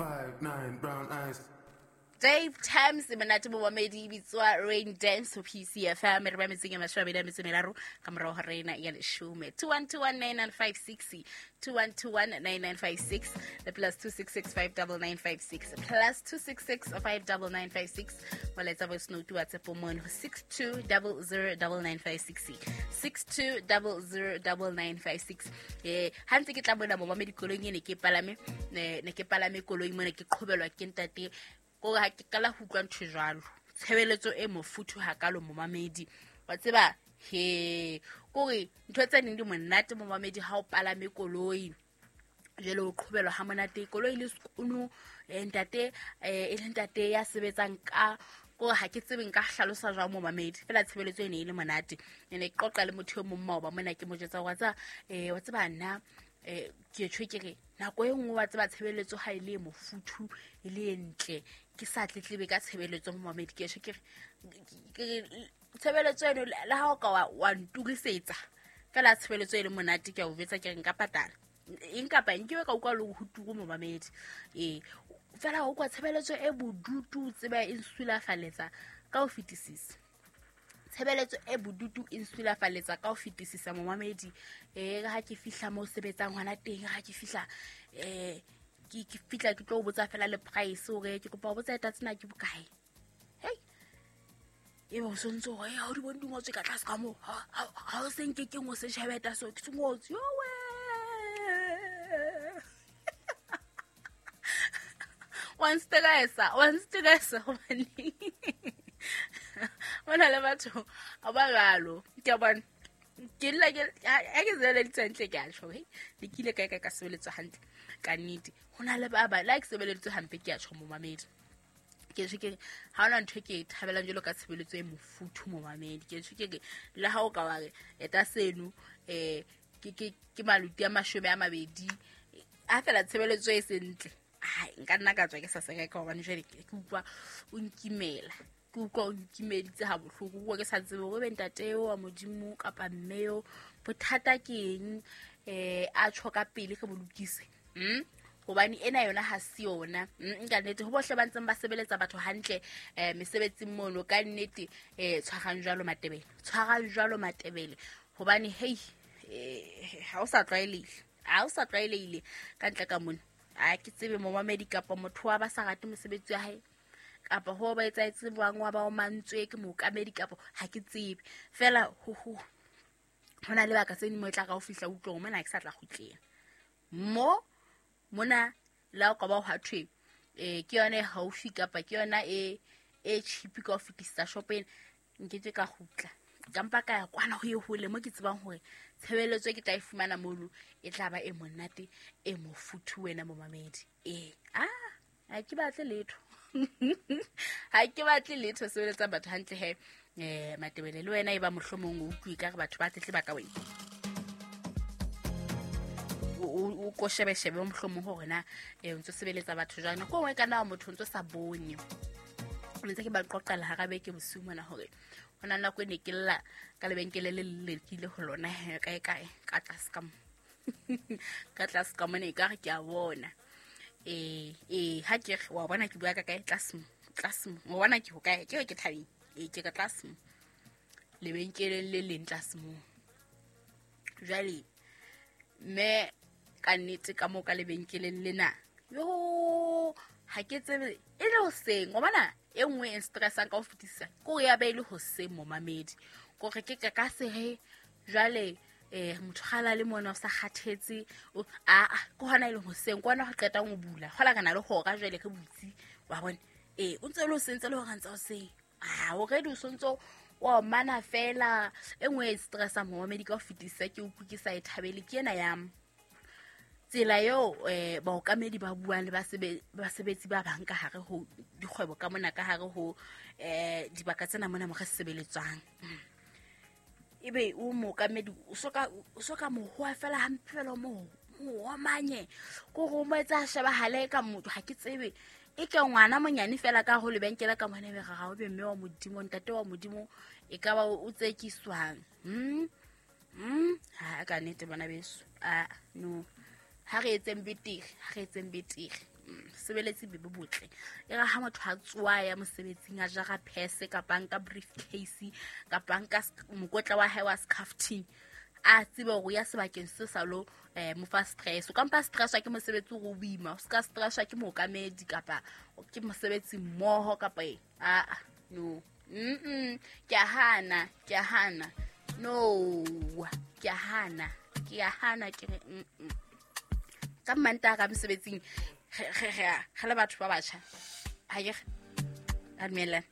5'9", brown eyes. Dave Times monate momamedi e bitswa Rain Dance ho PCFM re ba metseng ya 23 ka morao ho rena ya leshome. 21219956, 21219956 le +266 59956, +266 59956. Molaetsa voice note WhatsApp mono ho 62009956, 62009956. Ha ntse ke tla mona momamedi koloing e ne ke palame, ne ke palame koloi mona, ke qhobelwa ke ntate kore ha ke qala ho utlwa ntho jwalo, tshebeletso e mofuthu hakalo momamedi. Wa tseba he kore ntho tse neng di monate momamedi ha o palame koloi jwale o qhobelwa ha monate koloi le sekono, ntate, e le ntate ya sebetsang ka kore ha ke tsebe nka hlalosa jwang momamedi, fela tshebeletso e ne e le monate. E ne ke qoqa le motho e mong maoba mona, ke mo jwetsa hore wa tseba nna, ke tjho ke re nako e nngwe wa tseba tshebeletso ha e le e mofuthu e le e ntle, ke sa tletlebe ka tshebeletso momamedi. Ke tjho ke re tshebeletso eno le ha o ka wa nturisetsa fela tshebeletso e le monate, ke a o jwetsa ke re nka patala eng kapa eng, ke be ka utlwa le ho turu momamedi. Fela o kwa tshebeletso e bodutu, tseba e nsulafaletsa ka ho fetisisa. Tshebeletso e bodutu e nsulafaletsa ka ho fetisisa momamedi. Ha ke fihla moo sebetsang hona teng, ha ke fihla, ke fihla ke tlo botsa fela le price hore ke kopa ho botsa eta tsena ke bokae. Hei, ebe o sontso hore, ha o di bone di ngotswe ka tlase ka moo, ha o se nke ke ngo se shebe eta so, ke se ngotswe, yowe. Wa nstressa, wa nstressa hobane ho na le batho ba jwalo. Ke a bona. Ke lla ke, ha ke sebeleditswe hantle ke a tjho, hei, ne ke ile kae kae ka sebeletswa hantle. Ka nnete, ho na le ba bang, le ha ke sebeleditswe hampe ke a tjho momamedi. Ke tjho ke re, ha hona ntho e ke e thabelang jwalo ka tshebeletso e mofuthu momamedi. Ke tjho ke re, le ha o ka wa re, eta seno, ke maluti a 20, ha fela tshebeletso e se ntle, hai, nka nna ka tswa ke sa se reka hobane jwale ke utlwa o nkimela. Ke utlwa o nkimeditse ha bohloko, ke utlwa ke sa tsebe hore ebe ntate eo wa Modimo kapa mme eo, bothata ke eng, a tjho ka pele re bo lokise. Hobane ena yona ha se yona. Ka nnete, ho bohle ba ntseng ba sebeletsa batho hantle, mesebetsing mono, ka nnete, tshwarang jwalo Matebele, tshwarang jwalo Matebele. Hobane, hei, ha o sa tlwaelehile, ha o sa tlwaelehile ka ntle ka mona. Ha ke tsebe momamedi kapa motho wa ba sa rate mosebetsi wa hae, kapa ho ba etsahetse bang wa ba o mantswe ke mookamedi kapa ha ke tsebe. Fela ho na le baka tse ding mo e tla ka ho fihla utlwe hore mona ha ke sa tla kgutlela. Mo, mona le ha o ka ba hwa thwe, ke yona e haufi kapa ke yona e cheap ka ho fetisisa shop ena, nkeke ka kgutla. Ka mpa ka ya kwana ho ye hole mo ke tsebang hore tshebeletso e ke tla e fumana mono e tla ba e monate, e mofuthu wena momamedi. Ha ke batle letho. Ha ke batle letho, sebeletsa batho hantle he. Matebele le wena e ba mohlomong o utlwe ka re batho ba tletleba ka wena. O ko shebe-shebe mohlomong hore na, o ntso sebeletsa batho jwang. Nako e nngwe e ka nna wa motho o ntso sa bone. Ne ntse ke ba qoqela hara beke bosiu mona hore ho na le nako e ne ke lla ka lebenkele le le ke ile ho lona he, kae kae, ka tlase ka mo. Ka tlase ka mona ekare ke a bona. Ha ke re, wa bona ke bua ka kae? Tlase mo, tlase mo. Wa bona ke ho kae? Ke re ke thabeng. Ke ka tlase mo. Lebenkeleng le leng tlase mo. Jwale, mme ka nnete ka moo ka lebenkeleng lena, yo, ha ke tsebe e le hoseng. Wa bona e nngwe e stressang ka ho fetisisa, ke hore ya be e le hoseng momamedi. Kore ke ka se he, jwale, motho ha la le mona o sa kgathetse, o, a, a, ke hona e leng hoseng, ke hona ho qetang ho bula. Hola re na le hora jwale re butse, wa bona. O ntse o le hoseng, ntse le hora ntse hoseng. Ah, already o sontso wa mana fela. E nngwe e stressang momamedi ka ho fetisisa ke utlwe ke sa e thabele, ke ena ya tsela eo, baokamedi ba buang le basebetsi ba bang ka hare ho dikgwebo ka mona, ka hare ho, dibaka tsena mona mo re sebeletswang. Ebe o mookamedi, o soka mohoa fela hampe fela, o mo omanye. Ke hore o mo etsa a shebahale ka motho, ha ke tsebe. E ke ngwana monyane fela ka ho lebenkele ka mona, ebe re ra o be mme wa Modimo, ntate wa Modimo, e ka ba o tsekiswang. Ha ka nnete bana beso. Ah, no. Ha re etseng betere, ha re etseng betere. Sebeletsi be bo botle. E re ha motho a tsoa ya mosebetsing a jara phese kapa nka briefcase kapa nka mokotla wa hae wa skhafting, a tsebe hore ya sebakeng se sa lo mo fa stress. O ka mpa stresswa ke mosebetsi o boima, o ska stresswa ke mookamedi kapa ke mosebetsi mmoho kapa eng. Ah, no. Ke a hana, ke a hana. No, ke a hana, ke a hana, ke re Ka Mantaha ka mosebetsing re le batho ba batjha. Ha ke re ra dumellana.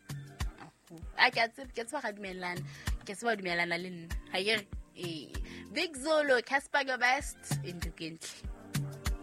A ke a tseba, ke tseba ra dumellana. Ke tseba dumellana le nna. Ha ke re, eh, Big Zulu, Cassper Nyovest, Indukentle.